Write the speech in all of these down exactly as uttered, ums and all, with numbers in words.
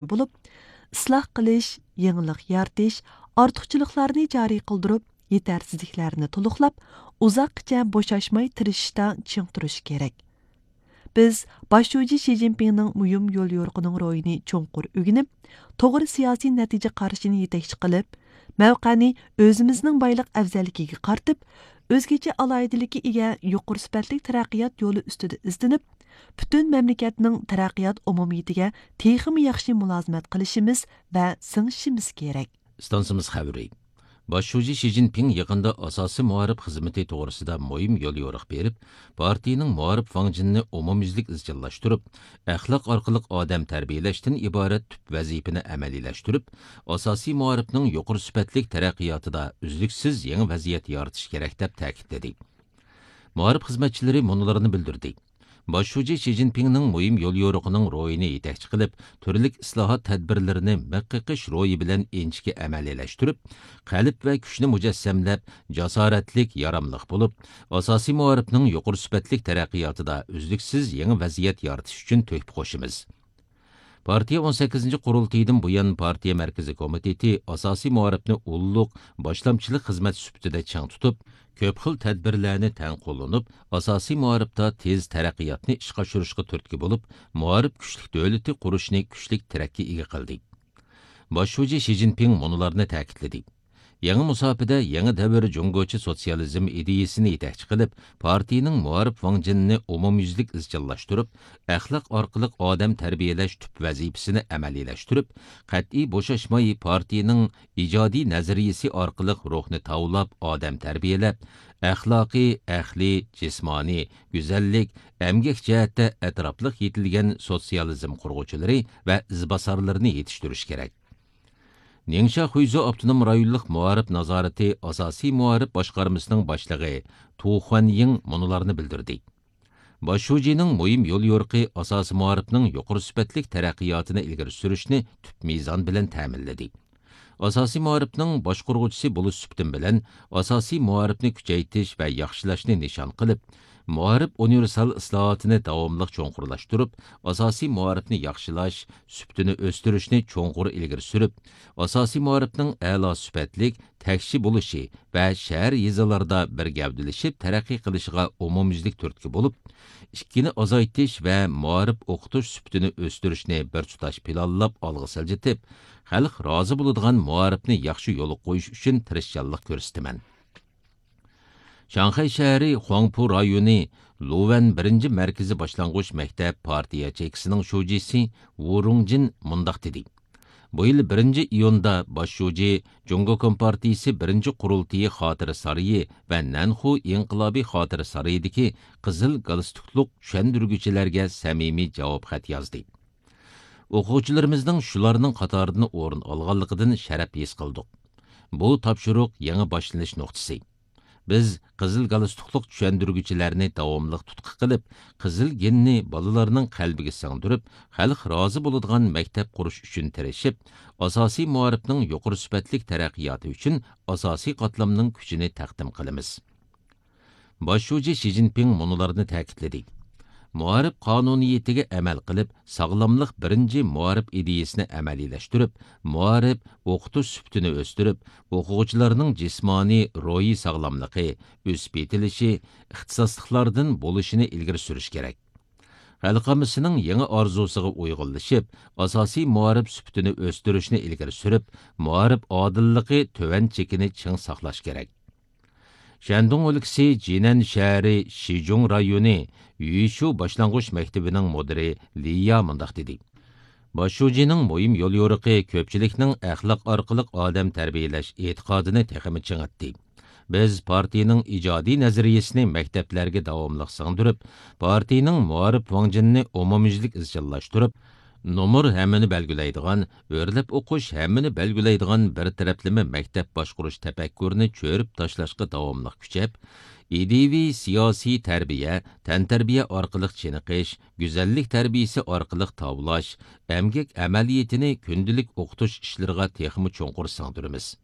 بولۇپ، ئىسلاھ قىلىش، يېڭىلىق يارىتىش، ئارتۇقچىلىقلارنى جارى قىلدۇرۇپ، يېتەرسىزلىكلەرنى تولۇقلاپ، ئۇزاققىچە بوشاشماي تىرىشىشتا چىڭ تۇرۇش كېرەك. بىز باش شۇجى شى جىنپىڭنىڭ مۇھىم يوليورۇقىنىڭ روھىنى چوڭقۇر ئۆگىنىپ، توغرا سىياسىي نەتىجە قارىشىنى يېتەكچى قىلىپ، مەۋقەنى ئۆزىمىزنىڭ بايلىق ئەۋزەللىكىگە قارىتىپ، ئۆزگىچە ئالاھىدىلىككە ئىگە يۇقىرى سۈپەتلىك تەرەققىيات يولى ئۈستىدە ئىزدىنىپ، پۈتۈن مەملىكەتنىڭ تەرەققىيات ئومۇمىيىتىگە تېخىمۇ ياخشى مۇلازىمەت قىلىشىمىز ۋە سىڭىشىمىز كېرەك. ئىستانسىمىز خەۋىرى. باش شۇجى شى جىنپىڭ يېقىندا ئاساسىي مائارىپ خىزمىتى توغرىسىدا مۇھىم يوليورۇق بېرىپ، پارتىيىنىڭ مائارىپ ۋاڭجېنىنى ئومۇميۈزلۈك ئىزچىللاشتۇرۇپ، ئەخلاق ئارقىلىق ئادەم تەربىيەلەشتىن ئىبارەت تۈپ ۋەزىپىنى ئەمەلىيلەشتۈرۈپ، ئاساسىي مائارىپنىڭ يۇقىرى سۈپەتلىك تەرەققىياتىدا ئۈزلۈكسىز يېڭى ۋەزىيەت يارىتىش كېرەك، دەپ تەكىتلىدى. مائارىپ خىزمەتچىلىرى مۇنۇلارنى بىلدۈردى. باش شۇجى شى جىنپىڭنىڭ مۇھىم يوليورۇقىنىڭ روھىنى يېتەكچى قىلىپ، تۈرلۈك ئىسلاھات تەدبىرلىرىنى مىخ قېقىش روھى بىلەن ئىنچىكە ئەمەلىيلەشتۈرۈپ، قەلب ۋە كۈچنى مۇجەسسەملەپ، جاسارەتلىك، ياراملىق بولۇپ، ئاساسىي مائارىپنىڭ يۇقىرى سۈپەتلىك تەرەققىياتىدا ئۈزلۈكسىز يېڭى ۋەزىيەت يارىتىش ئۈچۈن تۆھپە قوشىمىز. پارتىيە ئون سەككىزىنچى قۇرۇلتىيىدىن بۇيان، پارتىيە مەركىزىي كومىتېتى ئاساسىي مائارىپنى ئۇللۇق باشلامچىلىق خىزمەت سۈپىتىدە چىڭ تۇتۇپ، كۆپ خىل تەدبىرلەرنى تەڭ قوللىنىپ، ئاساسىي مائارىپتا تېز تەرەققىياتنى ئىشقا ئاشۇرۇشقا تۈرتكە بولۇپ، مائارىپ كۈچلۈك دۆلىتى قۇرۇشنى كۈچلۈك تىرەككە ئىگە قىلدى. باش شۇجى شى جىنپىڭ مۇنۇلارنى تەكىتلىدى. يېڭى مۇساپىدە يېڭى دەۋر جۇڭگوچە سوتسىيالىزم ئىدىيىسىنى يېتەكچى قىلىپ، پارتىيىنىڭ مائارىپ ۋاڭجېنىنى ئومۇميۈزلۈك ئىزچىللاشتۇرۇپ، ئەخلاق ئارقىلىق ئادەم تەربىيەلەش تۈپ ۋەزىپىسىنى ئەمەلىيلەشتۈرۈپ، قەتئىي بوشاشماي پارتىيىنىڭ ئىجادىي نەزەرىيىسى ئارقىلىق روھنى تاۋلاپ ئادەم تەربىيەلەپ، ئەخلاقىي، ئەقلىي، جىسمانىي، گۈزەللىك، ئەمگەك جەھەتتە ئەتراپلىق يېتىلگەن سوتسىيالىزم قۇرغۇچىلىرى ۋە ئىزباسارلىرىنى يېتىشتۈرۈش كېرەك. نىڭشيا خۇيزۇ ئاپتونوم رايونلۇق مائارىپ نازارىتى ئاساسىي مائارىپ باشقارمىسىنىڭ باشلىقى تۇ خۇەنيىڭ مۇنۇلارنى بىلدۈردى. باش شۇجىنىڭ مۇھىم يوليورۇقى ئاساسىي مائارىپنىڭ يۇقىرى سۈپەتلىك تەرەققىياتىنى ئىلگىرى سۈرۈشنى تۈپ مىزان بىلەن تەمىنلىدى. ئاساسىي مائارىپنىڭ باشقۇرغۇچىسى بولۇش سۈپىتىم بىلەن، ئاساسىي مائارىپنى كۈچەيتىش ۋە ياخشىلاشنى نىشان قىلىپ، مائارىپ ئۇنىۋېرسال ئىسلاھاتىنى داۋاملىق چوڭقۇرلاشتۇرۇپ، ئاساسىي مائارىپنى ياخشىلاش، سۈپىتىنى ئۆستۈرۈشنى چوڭقۇر ئىلگىرى سۈرۈپ، ئاساسىي مائارىپنىڭ ئەلا سۈپەتلىك، تەكشى بولۇشى ۋە شەھەر، يېزىلاردا بىر گەۋدىلىشىپ تەرەققىي قىلىشىغا ئومۇميۈزلۈك تۈرتكە بولۇپ، ئىككىنى ئازايتىش ۋە مائارىپ ئوقۇتۇش سۈپىتىنى ئۆستۈرۈشنى بىر تۇتاش پىلانلاپ ئالغا سىلجىتىپ، خەلق رازى بولىدىغان مائارىپنى ياخشى يولغا قويۇش ئۈچۈن تىرىشچانلىق كۆرسىتىمەن. شاڭخەي شەھىرى خۇاڭپۇ رايونى لۇۋەن بىرىنچى مەركىزىي باشلانغۇچ مەكتەپ پارتىيە چېكىسىنىڭ شۇجىسى ۋۇ رۇڭجىن مۇنداق دېدى. بۇ يىل بىرىنچى ئىيۇندا باش شۇجى جۇڭگو كومپارتىيىسى بىرىنچى قۇرۇلتىيى خاتىرە سارىيى ۋە نەنخۇ ئىنقىلابىي خاتىرە سارىيىدىكى قىزىل گالستۇكلۇق چۈشەندۈرگۈچىلەرگە سەمىمىي جاۋاب خەت يازدى. ئوقۇغۇچىلىرىمىزنىڭ شۇلارنىڭ قاتارىدىن ئورۇن ئالغانلىقىدىن شەرەپ ھېس قىلدۇق. بۇ تاپشۇرۇق يېڭى باشلىنىش نۇقتىسى. بىز قىزىل گالستۇكلۇق چۈشەندۈرگۈچىلەرنى داۋاملىق تۇتقا قىلىپ، قىزىل گېننى بالىلارنىڭ قەلبىگە سىڭدۈرۈپ، خەلق رازى بولىدىغان مەكتەپ قۇرۇش ئۈچۈن تىرىشىپ، ئاساسىي مائارىپنىڭ يۇقىرى سۈپەتلىك تەرەققىياتى ئۈچۈن ئاساسىي قاتلامنىڭ كۈچىنى تەقدىم قىلىمىز. باش شۇجى شى جىنپىڭ مۇنۇلارنى تەكىتلىدى. مائارىپ قانۇنىيىتىگە ئەمەل قىلىپ، ساغلاملىق بىرىنچى مائارىپ ئىدىيىسىنى ئەمەلىيلەشتۈرۈپ، مائارىپ، ئوقۇتۇش سۈپىتىنى ئۆستۈرۈپ، ئوقۇغۇچىلارنىڭ جىسمانىي، روھىي ساغلاملىقى، ئۆسۈپ يېتىلىشى، ئىختىساسلىقلاردىن بولۇشىنى ئىلگىرى سۈرۈش كېرەك. خەلق ئاممىسىنىڭ يېڭى ئارزۇسىغا ئۇيغۇنلىشىپ، ئاساسىي مائارىپ سۈپىتىنى ئۆستۈرۈشنى ئىلگىرى سۈرۈپ، مائارىپ ئادىللىقى تۆۋەن چېكىنى چىڭ ساقلاش كېرەك. شەندۇڭ ئۆلكىسى جىنەن شەھىرى شىجۇڭ رايونى يۈيشۇ باشلانغۇچ مەكتىۋىنىڭ مۇدىرى لىيا مۇنداق دېدى. باش شۇجىنىڭ مۇھىم يوليورۇقى كۆپچىلىكنىڭ ئەخلاق ئارقىلىق ئادەم تەربىيەلەش ئېتىقادىنى تېخىمۇ چىڭىتتى. بىز پارتىيىنىڭ ئىجادىي نەزەرىيىسىنى مەكتەپلەرگە داۋاملىق سىڭدۈرۈپ، پارتىيىنىڭ مائارىپ ۋاڭجېنىنى ئومۇميۈزلۈك ئىزچىللاشتۇرۇپ، نومۇر ھەممىنى بەلگىلەيدىغان، ئۆرلەپ ئوقۇش ھەممىنى بەلگىلەيدىغان بىر تەرەپلىمە مەكتەپ باشقۇرۇش تەپەككۇرىنى چۆرۈپ تاشلاشقا داۋاملىق كۈچەپ، ئىدىيىۋى سىياسىي تەربىيە، تەنتەربىيە ئارقىلىق چېنىقىش، گۈزەللىك تەربىيىسى ئارقىلىق تاۋلاش، ئەمگەك ئەمەلىيىتىنى كۈندىلىك ئوقۇتۇش ئىشلىرىغا تېخىمۇ چوڭقۇر سىڭدۈرىمىز.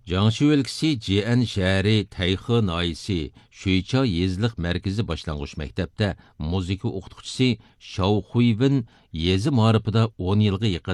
جياڭشى ئۆلكىسى جيەن شەھىرى تەيخې ناھىيەسى شۈيچا يېزىلىق مەركىزىي باشلانغۇچ مەكتەپتە مۇزىكا ئوقۇتقۇچىسى شاۋ خۇيۋېن يېزا مائارىپىدا ئون يىلغا يېقىن